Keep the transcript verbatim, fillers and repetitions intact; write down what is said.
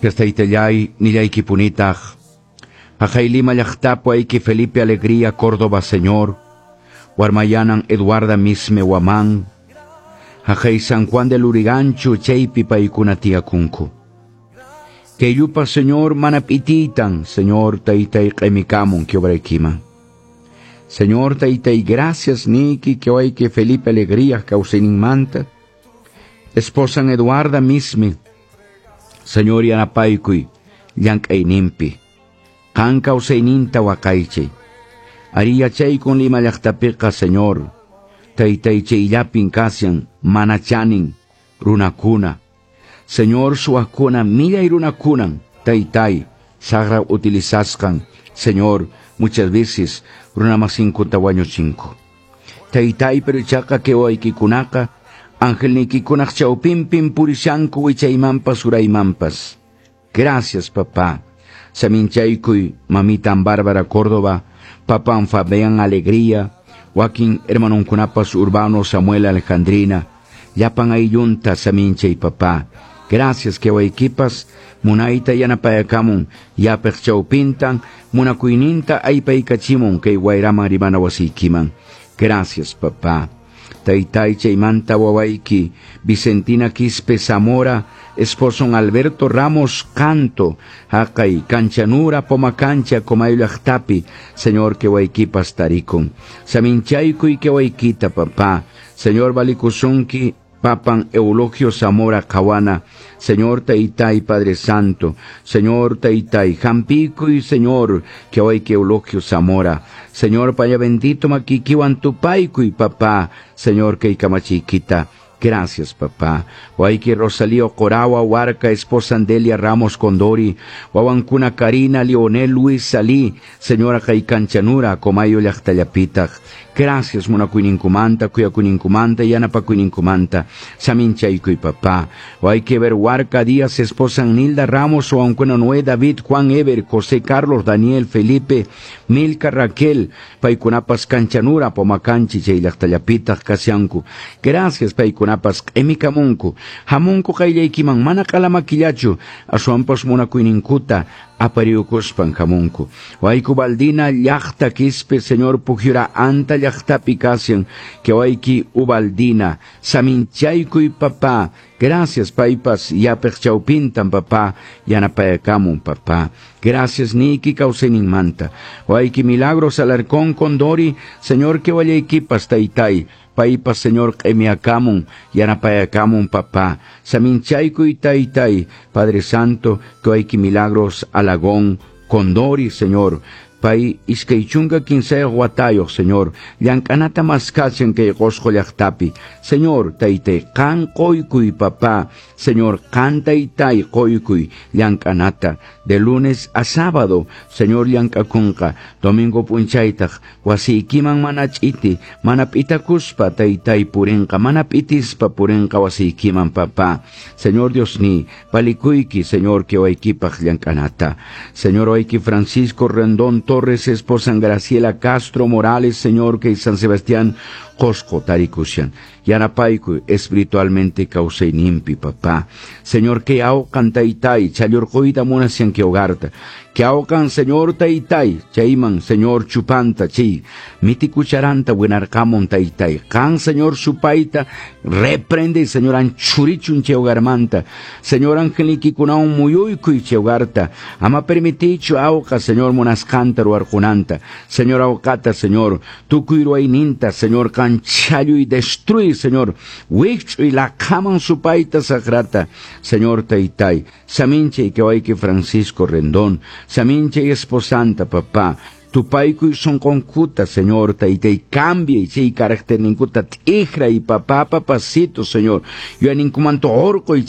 Taytallay nillaykipunitaq. Haqay Lima llaqtapi wayki Felipe Alegría Córdoba, Señor. Warmayanan Eduarda Misme Guamán. Haqay San Juan de Lurigancho chaypi paykuna tiyakunku. Kayupa, Señor, mana p'itiytan, Señor, taytay q'imikamun quebraykiman. Señor, taytay, gracias niki que que Felipe Alegría kawsayninmanta. Esposan Eduarda Misme. Señor, yanapaykuy llank'ayninpi. Qan kawsayninta waqaychay. Ari yachaykun Lima llaqtapiqa, Señor. Taytay chayllapin kashan mana chanin runakuna. Señor, suwaqkuna millay runakunan taytay saqra utilizasqan, Señor, muchas veces runamasinkuta wañuchinku. Taytay, pero ichaqa kay wawaykikunaqa angelniykikunaq chawpinpin purishanku wichaymanpas uraymanpas. Gracias, papá. Saminchaykuy mamitan Bárbara Córdoba, papan Fabián Alegría, wakin hermanunkunapas Urbano Samuel Alejandrina, llapan ayllunta saminchay, papá. Gracias que waykipas munayta yanapayakamun yapaq chawpintan munakuyninta aypaykachimun kay wayraman rimana wasiykiman. Gracias, papá. Taytay chaymanta wawayki Vicentina Quispe Zamora, esposon Alberto Ramos Canto, haqay Kanchanura Pomacancha Comayo llaqtapi, Señor, que waykipas tarikun. Saminchaykuy que waykita, papá. Señor, valikusunki papan Eulogio Zamora Cahuana, Señor Taytay Padre Santo, Señor Taytay, hampiykuy Señor, que wawayki Eulogio Zamora, Señor Paya bendito makiykiwan tupaykuy papá, Señor kay kamachiykita. Gracias, papá. Wawayki Rosalío Corawa, Huarca, esposa Andelia Ramos Condori, Wawankuna Karina, Leonel Luis Salí, Señora kay Kanchanura, Comayo llaqtallapitaq. Gracias, munakuyninkumanta, kuyakuyninkumanta, yanapakuyninkumanta, saminchaykuy, papá. Wawayki Ever Huarca Díaz, esposa Nilda Ramos, Wawankuna Noé, David, Juan Ever, José Carlos, Daniel, Felipe, Milka Raquel, paykunapas Kanchanura, Pomacanchi, chay llaqtallapitaq kashanku. Gracias, paykunapas q'imikamunku. Hamunku qayllaykiman mana q'alamakillachu, aswanpas munakuyninkuta apariyukuspan hamunku. Wayku Baldina llaqta Quispe, Señor Pujiura anta llaqtapi kashan, que wayki Ubaldina, saminchaykuy papá. Gracias, paypas yapaq chawpintan papá, yanapayakamun papá. Gracias niki kawsayninmanta. Wayki Milagros Alarcón Condori, Señor que wallaykipas taytay. Paypas Señor q'imiyakamun, yanapayakamun papá. Saminchaykuy taytay, Padre Santo, que wayki Milagros Alagón Condori, Señor. Pay iskay chunka kinsayuq watayuq, Señor. Llank'anata maskashan kay Qosqo llaqtapi. Señor, taytay, qan qoykuy, papá. Señor, qan taytay qoykuy llank'anata. De lunes a sábado, Señor, llank'akunqa. Domingo p'unchaytaq, wasiykiman mana ch'iti, mana p'itakuspa taytay purinqa, mana p'itispa purinqa wasiykiman, papá. Señor Dios ni, palikuyki, Señor, que waykipaq llank'anata. Señor, wayki Francisco Rendón Torres, esposa Graciela Castro Morales, Señor, que San Sebastián, Qosqo tarikushan. Yanapaykuy espiritualmente kawsayninpi, papá. Señor, que awqan taytay, challurquyta munashan que hogarta. Que awqan, Señor, taytay, chayman, Señor, chupanta, chay, mitikucharanta winarqamun taytay. Qan, Señor, supayta, reprende, Señor, anchurichun chay hogarmanta. Señor, angelnikikunawan muyuykuy chay hogarta. Ama permitichu awqa, Señor, munasqanta ruwarqunanta. Señor, awqata, Señor, tukuy ruwayninta, Señor, qan challuy destruy, Señor, wikch'uy laqhaman supayta saqrata. Señor taytay, saminchay que wayki Francisco Rendón, saminchay esposanta, papá. Tupaykuy sunqunkuta, Señor, taytay, cambia chay caracterninkuta t'ikray, papá, papacito, Señor. Yuyayninkumanta hurquy